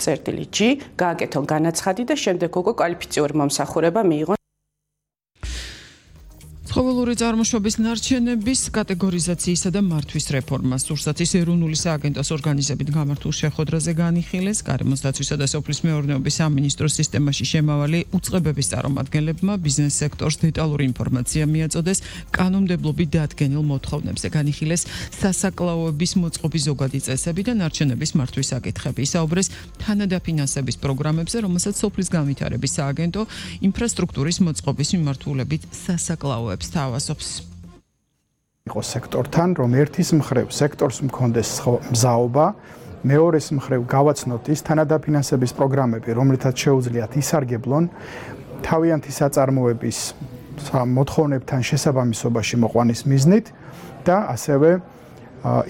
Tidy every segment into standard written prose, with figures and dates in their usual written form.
წერტილი G, გააკეთონ განაცხადი და შემდეგ უკვე კვალიფიციური მომსახურება მიიღონ. ცხოველური წარმოშობის ნარჩენების კატეგორიზაციისა და მართვის რეფორმა სურსათის ეროვნული სააგენტოს ორგანიზებით გამართულ შეხვედრაზე განიხილეს. გარემოს დაცვისა და სოფლის მეურნეობის სამინისტროს სისტემაში შემავალი უწყებების წარმომადგენლებმა ბიზნეს სექტორს დეტალური ინფორმაცია მიაწოდეს კანონმდებლობით დადგენილ მოთხოვნებზე. განიხილეს სასაკლაოების მოწყობის ზოგადი წესები და ნარჩენების მართვის საკითხები. ისაუბრეს თანადაფინანსების პროგრამებზე, რომელსაც სოფლის განვითარების სააგენტო ინფრასტრუქტურის მოწყობის მიმართულებით სასაკლაოებს თავაზობს. იყო სექტორთან, რომ ერთის მხრივ სექტორს მქონდეს მზაობა, მეორეს მხრივ გავაცნოთ ის თანადაფინანსების პროგრამები, რომლითაც შეუძლიათ ისარგებლონ თავიანთი საწარმოების მოთხოვნებთან შესაბამისობაში მოყვანის მიზნით და ასევე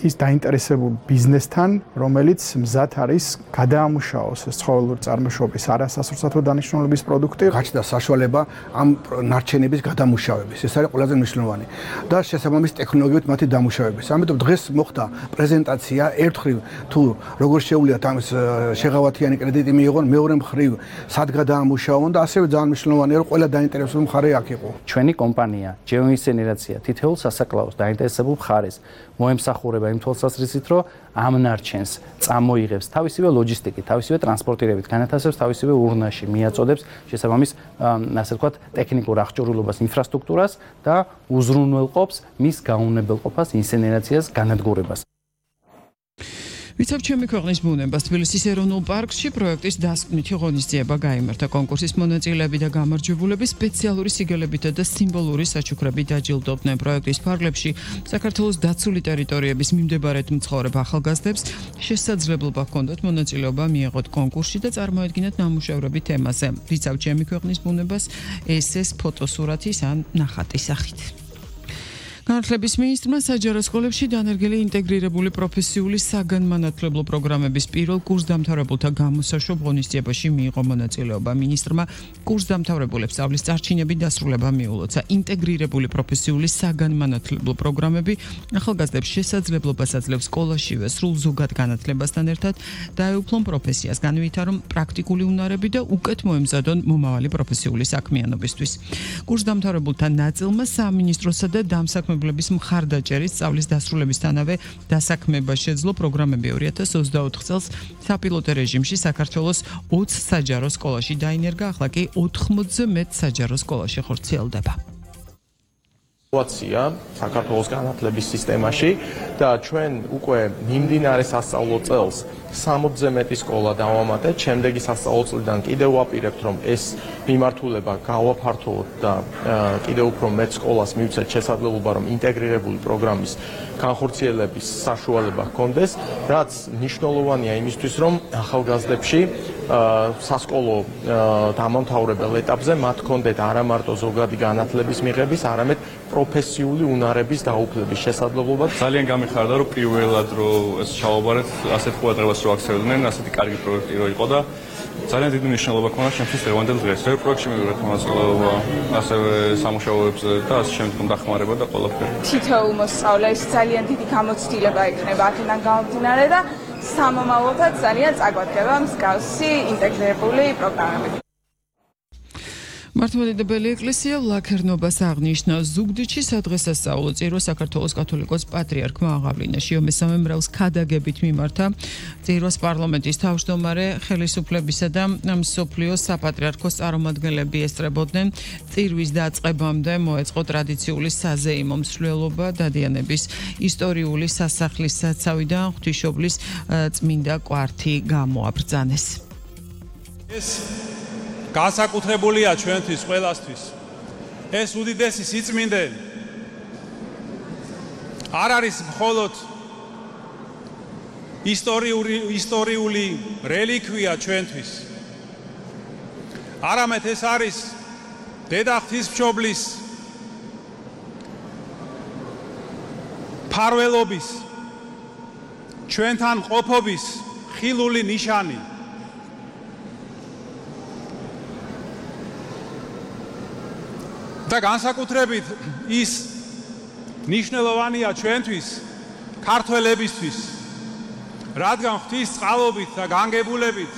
ის დაინტერესებულ ბიზნესთან, რომელიც მზად არის გადაამუშავოს ცხოველური წარმოშობის არასასურსათო დანიშნულების პროდუქტი. გაჩნდა საშუალება ამ ნარჩენების გადამუშავების. ეს არის ყველაზე მნიშვნელოვანი და შესაბამის ტექნოლოგიით მათი დამუშავების. ამიტომ დღეს მოხდა პრეზენტაცია ერთხელ თუ როგორ შეუძლიათ ამის შეღავათიანი კრედიტი მიიღონ, მეორე მხრივ სად გადაამუშავონ და ასევე ძალიან მნიშვნელოვანია რომ ყველა დაინტერესებული მხარე აქ იყო. ჩვენი კომპანია ჯეოინსენერაცია თითოეულ სასაკლაოს დაინტერესებულ მხარეს მოემსახურება იმ თვალსაზრისით, რომ ამ ნარჩენს წამოიღებს თავისივე ლოჯისტიკით, თავისივე ტრანსპორტირებით, განათავსებს თავისივე ურნაში, მიაწოდებს შესაბამის, ასე ვთქვათ, ტექნიკურ აღჭურვილობას, ინფრასტრუქტურას და უზრუნველყოფს მის გაუნებელყოფას, ინსენერაციას, განადგურებას. ვიცავ ჩემი ქვეყნის ბუნებას თბილისის ეროვნულ პარკში პროექტის დასკვნითი ღონისძიება გაიმართა. კონკურსის მონაწილეები და გამარჯვებულები სპეციალური სიგელებითა და სიმბოლური საჩუქრებით დაჯილდოვდნენ. პროექტის ფარგლებში საქართველოს დაცული ტერიტორიების მიმდებარედ მცხოვრებ ახალგაზრდებს შესაძლებლობა ჰქონდათ მონაწილეობა მიეღოთ კონკურსში და წარმოედგინათ ნამუშევრები თემაზე. ვიცავ ჩემი ქვეყნის ბუნებას ეს ფოტოსურათის ან ნახატის სახით. განათლების მინისტრმა საჯარო სკოლებში დანერგილი ინტეგრირებული პროფესიული საგანმანათლებლო პროგრამების პირველ კურსდამთავრებულთა გამოსაშობ ღონისძიებაში მიიღო მონაწილეობა. მინისტრმა კურსდამთავრებულებს სწავლის წარჩინებით დასრულება მიულოცა. ინტეგრირებული პროფესიული საგანმანათლებლო პროგრამები ახალგაზრდებს შესაძლებლობას აძლევს სკოლაშივე სრულ ზოგად განათლებასთან ერთად დაეუფლონ პროფესიას, განვითარონ პრაქტიკული უნარები და უკეთ მოემზადონ მომავალი პროფესიული საქმიანობისთვის. კურსდამთავრებულთა ნაწილმა სამინისტროსა და დამსაქმებელობის მხარდაჭერით სწავლის დასრულებისთანავე დასაქმება შეძლო. პროგრამები 2024 წელს საპილოტო რეჟიმში საქართველოს 20 საჯარო სკოლაში დაინერგა, ახლა კი 80-ზე მეტ საჯარო სკოლაში ხორციელდება. სიტუაცია საქართველოს განათლების სისტემაში და ჩვენ უკვე მიმდინარე სასწავლო წელს 60-ზე მეტი სკოლა დავამატეთ. შემდეგი სასწავლო წლიდან კიდევ ვაპირებთ, რომ ეს მიმართულება გავაფართოვოთ და კიდევ უფრო მეტ სკოლას მივცეთ შესაძლებლობა, რომ ინტეგრირებული პროგრამის განხორციელების საშუალება ჰქონდეს, რაც მნიშვნელოვანია იმისთვის, რომ ახალგაზრდებში სასკოლო დამამთავრებელ ეტაპზე მათ ჰქონდეთ არა მარტო ზოგადი განათლების მიღების, არამედ პროფესიული უნარების დაუფლების შესაძლებლობა. ძალიან გამიხარდა, რომ პირველად რომ ეს ჩავაბარეთ ასეთ ყურადღებას რო აქცევდნენ, ასეთი კარგი პროექტი რო იყო და ძალიან დიდი მნიშვნელობა ჰქონდა ჩემთვის დღევანდელ დღეს. ერთ პროექტში მივიღეთ მონაწილეობა, ასევე სამუშაოებზე და ასე შემდგომ დახმარება და ყველაფერი. თითოეულ მოსწავლეს ძალიან დიდი გამოცდილება ექნება აქედან გამომდინარე და სამომავლოდაც ძალიან წაგვადგება მსგავსი ინტეგრირებული პროგრამები. მართლმადიდებელი ეკლესია ვლაქერნობას აღნიშნა. ზუგდიდში სადღესასწაულო წირვა საქართველოს კათოლიკოს პატრიარქმა აღავლინაში მესამე მრევლს ქადაგებით მიმართა. წირვას პარლამენტის თავმჯდომარე, ხელისუფლებისა და მსოფლიოს საპატრიარქოს წარმომადგენლები ესწრებოდნენ. წირვის დაწყებამდე მოეწყო ტრადიციული საზეიმო მსვლელობა, დადიანების ისტორიული სასახლის საცავი და ღვთისმშობლის წმინდა კვართი გამოაბრძანეს. განსაკუთრებულია ჩვენთვის ყველასთვის. ეს უდიდესი სიწმინდე არ არის მხოლოდ ისტორიული რელიკვია ჩვენთვის. არამედ ეს არის დედა ღვთისმშობლის ფარველობის, ჩვენთან ყოფობის ხილული ნიშანი. და განსაკუთრებით ის მნიშვნელოვანია ჩვენთვის, ქართველებისთვის, რადგან ღვთის წყალობით და განგებულებით